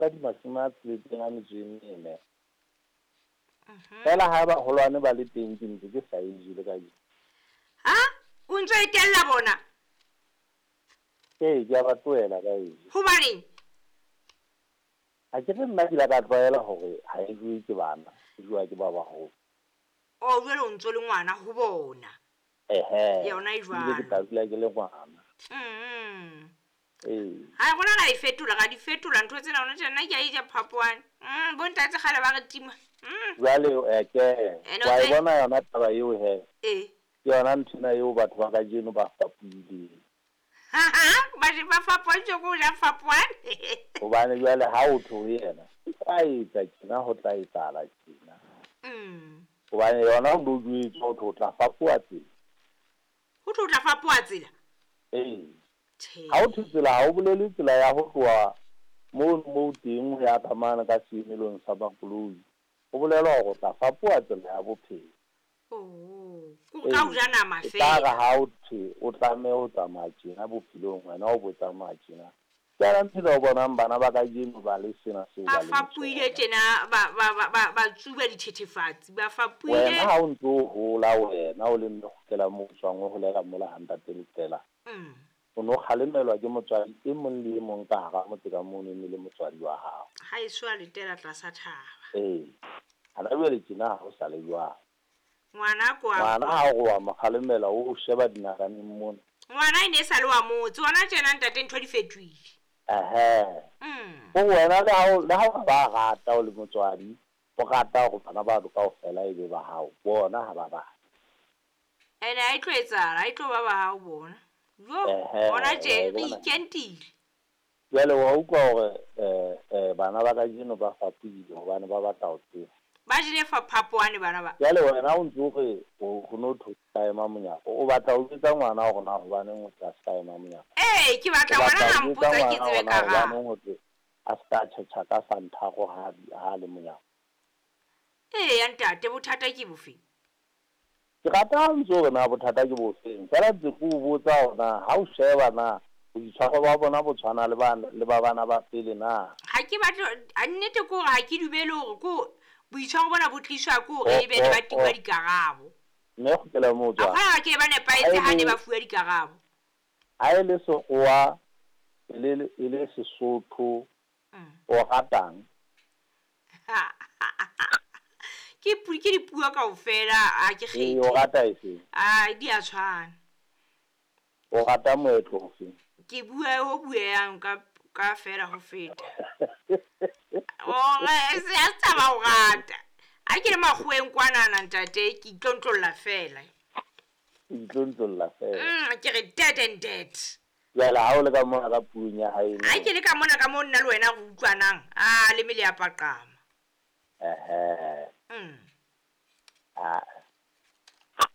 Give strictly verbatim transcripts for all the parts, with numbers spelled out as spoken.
Ka di mashome a tsheletseng a metso e mene. Fela ha baholwane ba le teng ke ntse ke sa e je le kajeno. Ha o ntso e tella bona? Ee, ke a ba tlohela ba e je. Hobaneng? Ha ke re nna ke ile ka tlwaela hore ha e jowe ke bana, e jowa ke ba baholo. O jwale o ntso le ngwana ho bona. Ehe. Yona e Ebile ke jwalo. tla dula ke le ngwana. Mm. Ee. Ha rona ra e fetola, ra di fetola ntho tsena hona tjena nna ke a e ja phapoane. Mm, bo ntate kgale ba re tima. Mm. Jwale eh, ke Ene o wa e tse bona yona taba eo he. Ee. Ke yona nthwena eo batho ba kajeno ba fapohileng. Ba je ba fapohile ke ho ja fapoane. Hobane jwale ha o thwe ho yena, o tla etsa tjena ho tla etsahala tjena. Mm. Hobane yona o no jwetswa ho thwe o tla fapoha tsela. Ho thwe o tla fapoha tsela? Ee. Tjhe. Ha o thwe tsela ha o bolele tsela ya ho tloha mono moo teng ho ya ka mane ka seemelong sa makoloi. Ho bolelwa hore o tla fapoha tsela ya bophelo. Oh, ke hore ka ho Ee, ja nama e tla re feela. ha o thwe o tlameha ho tsamaya tjena bophelong, wena o bo tsamaya tjena. Ke yona nthwena o bonang bana ba kajeno ba le sena seo Ba ba leng fapohile sona. tjena ba ba ba ba ba tsuba dithethefatsi, ba Wena fapohile. ha o ntso hola wena o le mme kgutlela moo o tswang o holela mola ha ntate Letela. Mm. O no kgalemelwa ke motswadi e mong le e mong ka hara motse ka mono e ne le motswadi wa hao. Ha eso a letela tlasa thaba. Ee. Hana jwale tjena ha ho sa le jwalo. Ngwana ko a Ngwana ha o re wa mo kgalemela o sheba dinakaneng mona. Ngwana e ne e sa le wa motse, hona tjena ntate ntho di fetohile. Ehe. Mm. Ho wena le ha o le ha o ba rata o le motswadi, o rata hore bana ba kaofela e be ba hao, bona ha ba batle. Ene ha e tlo etsahala, ha e tlo ba ba hao bona. Jo, Ehe, hona wa tje e re bona. ikentile. Jwale wa utlwa hore eh eh bana ba kajeno ba fapohile hobane ba batla ho tseba. Ba jele fa phapoane bana ba. Jwale wena o ntso re ho no thwe ka ema monyako, o batla ho jwetsa ngwana hore na hobaneng o tla ska ema monyako. Ee, ke batla O ngwana batla ha ho jwetsa mpotsa ke ngwana tsebe hore na karabo. hobaneng ho thwe a ska tjhetjha ka santhako ha ha le monyako. Ee, ya ntate bothata ke bofe? Ke rata ha ntso hore na bothata ke bofeng. Feela ntse ke o botsa hore na ha o sheba na boitshwaro ba bona bo tshwana le ba le ba bana ba pele na. Ha ke batle a nnete ke hore ha ke dumele hore ko boitshwaro bona bo tliswa ke hore O ebe ne o ba tingwa o dikarabo. Mme kgutlela moo A tswang. kgona ke ba Ha nepahetse e ha ne le ba fuwa dikarabo. ha e le sekgowa e le e le Sesotho Mm. o ratang? Ke pu ke dipuo kaofela ha ke Ee, o kgethe. rata efeng? Ah, di a tshwana. O rata moetlo ofeng? Ke bua ho bueyang ka ka fela ho feta. Ore se a taba ho rata. Ha ke le makgoweng kwanana ntate ke itlontlolla fela. O itlontlolla fela. Mm, ke re dead and dead. Jwale ha o le ka mona ka puong ya haeno. Ha ke le ka mona ka mo nna le wena re utlwanang, ah le mele ya paqama. Ehe. Mm. Ah.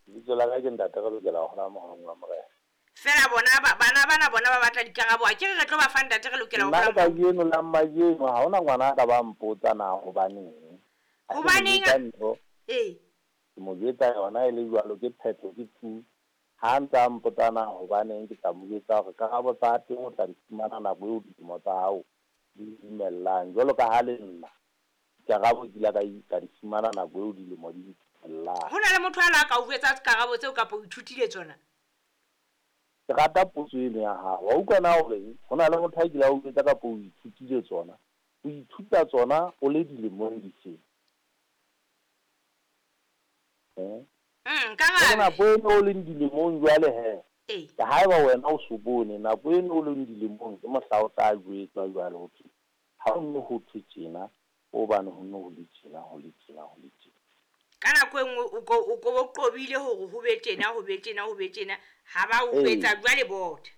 Lebitso la ka ke ntate re lokela ho hola mohong wa morena. Fela bona ba bana bana bona ba batla dikarabo, a ke re re tlo ba fa ntate re lokela ho Nna le hola kajeno la majeno ha hona ngwana a ka ba mpotsa na hobaneng. Ha ke mo Hobaneng? jwetsa ntho, Ee. ke mo jwetsa yona e le jwalo ke phetho ke tu. Ha ntsa mpotsa na hobaneng ke tla mo jwetsa hore karabo tsa teng o tla di fumana nako eo dilemo tsa hao di dumellang. Jwalo ka ha le nna dikarabo ke ile ka ka di fumana nako eo dilemo di ntumellang. Ho na le motho a la ka o jwetsa karabo tseo kapa o ithutile tsona? Ke rata potso eno ya hao. Wa utlwa na hore ho na le motho a kile a o jwetsa kapa o ithutile tsona? O ithuta tsona o le dilemong difeng? Eh? Mm, Hore karabe. nako eno o leng dilemong jwale he. Ee. Ke haeba wena o so bone nako eno o leng dilemong ke mohla o tla jwetswa jwale ho thwe ha o no ho thwe tjena, hobane ho no ho le tjena, ho le tjena, ho le tjena. Ka nako e nngwe o ko o ko bo qobile hore ho be tjena, ho be tjena, ho be tjena, ha ba o Ee. jwetsa jwale botha.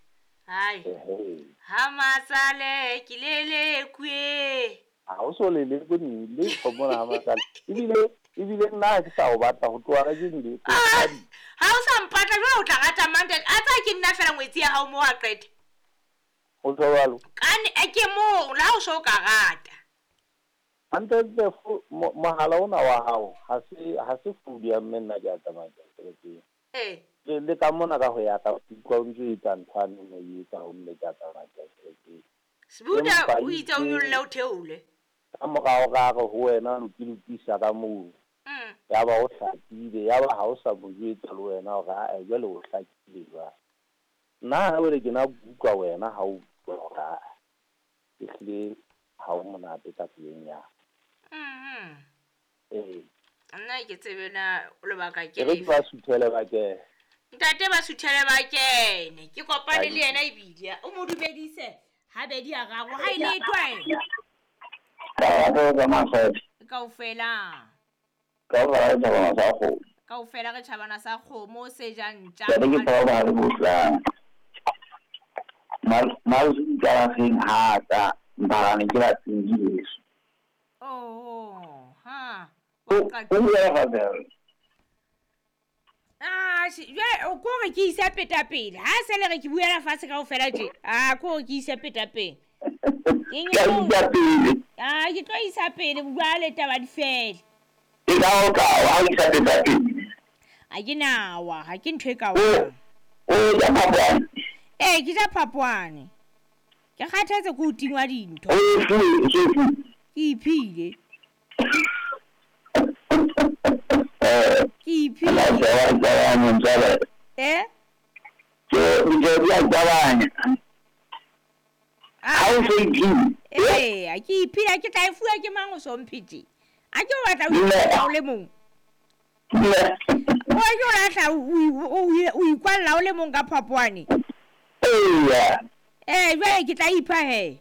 Hai. Ehe. Ha matsale ke lelekwe. Ha o so lelekwe letho mona ha matsale. Ebile ebile nna ha ke sa o batla ho tloha kajeno le Ah, ha o sa mpatla jwale o tla rata mang ntate? A tsaya ke nna fela ngwetsi ya hao moo a qete. Ho tjho jwalo. Ka ne ke moo la o so ka rata. Hantle mohala ona wa hao ha se ha se founu ya mme nna ke a tsamaya ke ya kerekeng. Eh. Le le ka mona ka ho ya ka utlwa o ntso etsa ntho ane o no e etsa ho mme ke a tsamaya ke ya kerekeng. Sbuda o itse o nyolle o theole. Ka morao ra re ho wena lo ke lokisa ka moo. Mm. Ya ba o hlakile, ya ba ha o sa mo jwetsa le wena hore ae jwale o hlakile jwang. Nna ha jwale ke na utlwa wena ha o bua hore ae ehlile ha o monate ka tseleng ya. Mhm. Ee. Nna ke tsebe na lebaka ke E re lefe. ke ba suthele ba kene. Ntate ba suthele ba kene. Ke kopane Ba le yena ebile o mo dumedise habedi a raro ha e le twae. Kaofela. Kaofela re tjhabana sa kgomo se jang ntja. Oh, ha. Wa qaka. Ah, jwale o ko re ke isa peta pele. Ha se le re ke buela fatshe kaofela tje. Ah, ko re ke isa peta pele. Ke eng? Ah, ke tlo isa pele jwale taba di fele. Ha ke nawa, ha ke ntho e ka wang. Ee, ke ja phapwane. Ke kgathetse ke ho tingwa dintho. Ke iphile. Ke iphile. Eh? Ah, ee, ke iphile, ha ke tla e fuwa ke mang o so mphe tje? Ha ke o batla o ikwalla o le mong. O ke o lahla o o o ikwalla o le mong ka phapwane. Eh, jwale ke tla ipha he.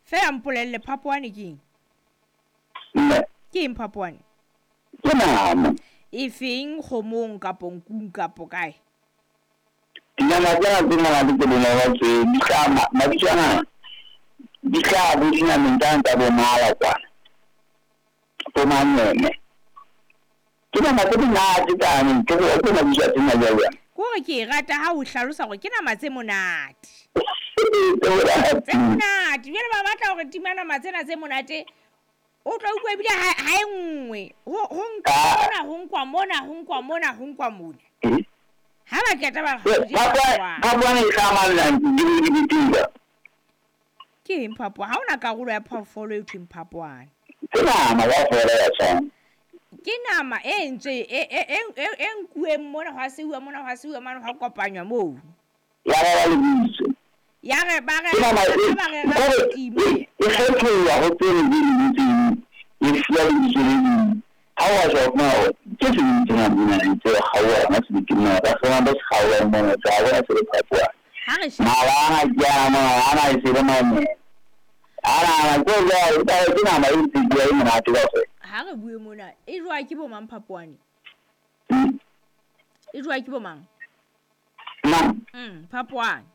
Feela mpolelle phapwane ke eng? Ke eng phapwane? Ke nama. E feng kgomong kapo nkung kapo kae? Dinama tsena tse monate tse bonolo tse di tla mabitso ana di tla bo dinameng tsane tsa bo mala kwana. Bo manyeme. Ke nama tse monate tsane, ke go ke mabitso a tsena jwalo. Ke hore ke e rata ha o hlalosa hore ke nama tse monate. Tse monate. Tse monate. Jwale ba batla hore tima nama tsena tse monate. O tla utlwa ebile ha ha e nngwe. Ho ho nkwa mona, ho nkwa mona, ho nkwa mona, ho nkwa mona. Ha ba qeta ba re Phapwane phapwane e hlaha di Ke eng phapwane? Ha hona karolo ya phoofolo e thweng phapwane. Ke nama kaofela ya tshwana. Ke nama e ntse e e e e nkuweng mona hwa seuwa mona hwa seuwa mane hwa kopanywa moo. Ya ba ba lebitso. Ya re ba re Ke nama e ba re ra time. e kgethollwa ho tse ding tse ding e fuwa lebitso le leng. Ha wa sheba o fumana hore ke se ding tsena mona tse kgaoha se di kena ka sona ba se kgaoha mona tsa bona se le phapwane. Ha re she Mala ana ke ana mona ana e se le mane. Ana ana ke jwale e ke nama e ntse e monate kaofela. Ha re bue mona e jowa ke bo mang phapwane? E jowa ke bo mang? Mang? Mm, phapwane.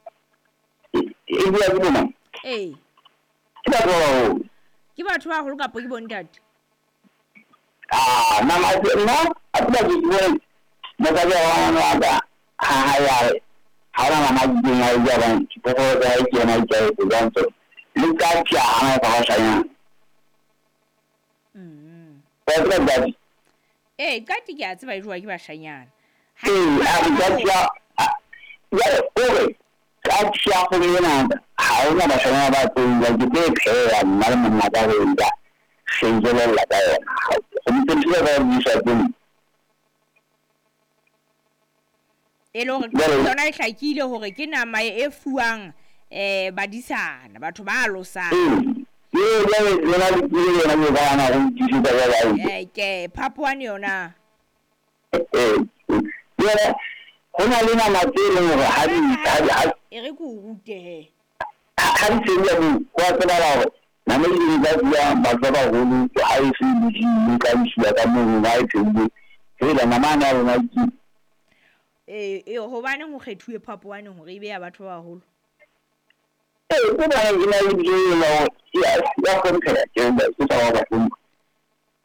E jowa ke bo mang? Ee. Ke batho ba baholo. Ke batho ba baholo kapa ke bo ntate? Ah, nama nna a tseba ke bone mosadi wa ngwana wa ka ha ha ya re ha ona nama a itseng a e ja bang diphoofolo tsa hae ke yena a itlwaetse jwang tsona le ka tjha ha e fa bashanyana. Mm. Wa tseba qati? Ee, qati ke a tseba e jowa ke bashanyana. Ha Ee, a re qati ya jwale o re qati ya kgomo ena ha hona bashanyana ba tlo e ja, ke tlo e pheha nna le monna ka re e ja re e jelella ka yona. Go ntse ntho ba di sa tsene. E le hore yona e hlakile hore ke nama e fuwang eh badisana, batho ba alosang. Ee, jwale lona le tsile yona ke ba na go ntlisetsa ba ba. Eh, ke phapwane yona. Eh, jwale ho na le nama tse leng hore ha di ha di ha E re ke o rute he. ha di tsenya mo wa tseba hore nama e ding tsa fuwang batho ba baholo ha e se bodile ka isiwa ka moo ha e pheuwe. Fela nama ana ya rona ke Eh, eh hobaneng ho kgethuwe phapwane hore e be ya batho ba baholo? Ee, ke bona e na le lebitso le la hore ya ya hlompheha ke ke tsa ba hlompha.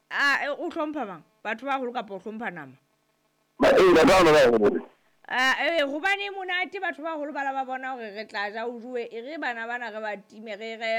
Ah, o hlompha mang? Batho ba baholo kapa o hlompha nama? Ba ee, batho ba baholo. Eh hobane monate batho ba holo ba la ba bona hore re tla ja o jowe, e re bana bana re ba time re re